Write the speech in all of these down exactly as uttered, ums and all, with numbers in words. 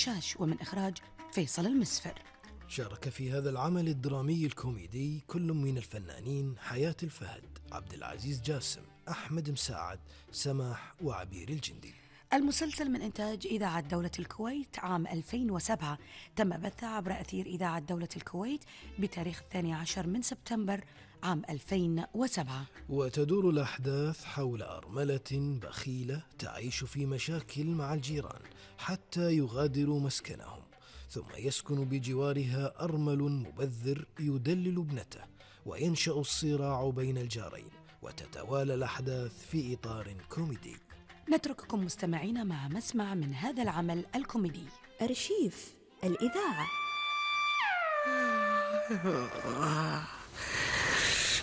شاش، ومن إخراج فيصل المسفر. شارك في هذا العمل الدرامي الكوميدي كل من الفنانين حياة الفهد، عبد العزيز جاسم، أحمد مساعد، سماح، وعبير الجندي. المسلسل من إنتاج إذاعة دولة الكويت عام ألفين وسبعة، تم بثه عبر أثير إذاعة دولة الكويت بتاريخ الثاني عشر من سبتمبر عام ألفين وسبعة. وتدور الأحداث حول أرملة بخيلة تعيش في مشاكل مع الجيران حتى يغادروا مسكنهم، ثم يسكن بجوارها أرمل مبذر يدلل ابنته، وينشأ الصراع بين الجارين، وتتوالى الأحداث في إطار كوميدي. نترككم مستمعين مع مسمع من هذا العمل الكوميدي. أرشيف الإذاعة.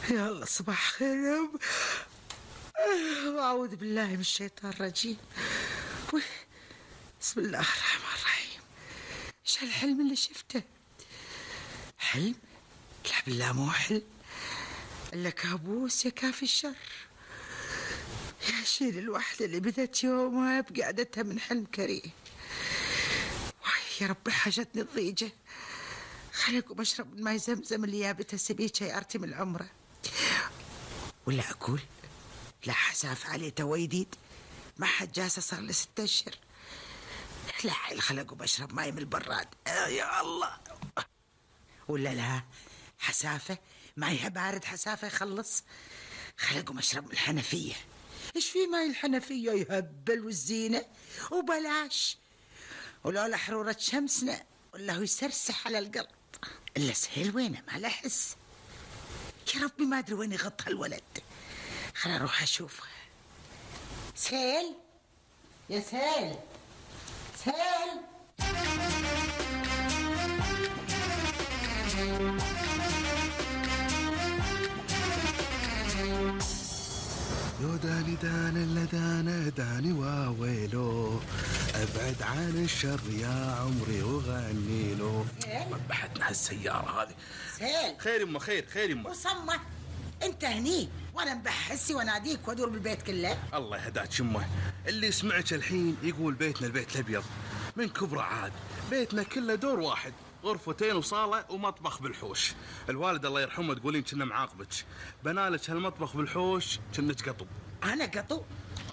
يلا صباح خير. أعوذ بالله من الشيطان الرجيم. بسم الله الرحمن الرحيم. إيش هالحلم اللي شفته؟ حلم؟ لا بالله مو حلم، إلا كابوس يا كافي الشر. يا شيل الوحدة اللي بدت يومها بقعدتها من حلم كريه. يا ربي حاجتني الضيجة، خليكم بشرب من ماي زمزم اللي يابتها سبيتها يا أرتي من العمرة. ولا أقول لا حساف عليه تويديد، ما حد جاسة صار لي ست أشهر. لا حيل خلقوا بشرب ماي من البراد. آه يا الله. ولا لا حسافة مايها بارد، حسافة يخلص. خلقوا مشرب من الحنفية. إيش في ماي الحنفية يهبل والزينة وبلاش، ولولا حرورة شمسنا والله يسرسح على القلب. إلا سهيل وينه ما له حس. يا ربي ما أدري وين يغط هالولد. خل أروح أشوفه. سهيل يا سهيل، سهيل. يو داني دان الا دانا داني واويلو، ابعد عن الشر يا عمري وغني له. ربحتنا هالسيارة هذه. سهيل. خير يمه، خير خير يمه. وصمة انت هني وانا مبحسي واناديك وادور بالبيت كله. الله يهداك يمه، اللي سمعك الحين يقول بيتنا البيت الابيض من كبره، عاد بيتنا كله دور واحد، غرفتين وصالة ومطبخ بالحوش. الوالد الله يرحمه تقولين كنا معاقبك، بنالك هالمطبخ بالحوش كنك قطو. أنا قطو؟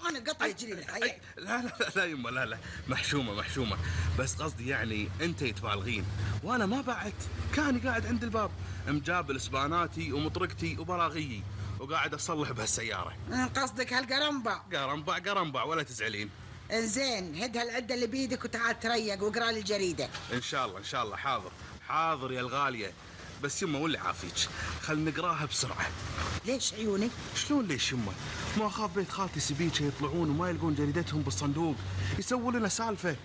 أنا قطو يجري الحياة. لا لا لا لا يمه، لا لا محشومة محشومة، بس قصدي يعني أنت تبالغين، وأنا ما بعت. كان قاعد عند الباب مجابل سباناتي ومطرقتي وبراغيي وقاعد أصلح بهالسيارة. قصدك هالقرنبع؟ قرنبع قرنبع ولا تزعلين. انزين هد هالعدة اللي بيدك وتعال تريق واقرأ لي الجريدة. إن شاء الله إن شاء الله. حاضر حاضر يا الغالية، بس يمه واللي عافيك خل نقراها بسرعة. ليش عيوني؟ شلون ليش يمه؟ ما أخاف بيت خالتي سبيتش يطلعون وما يلقون جريدتهم بالصندوق، يسووا لنا سالفة.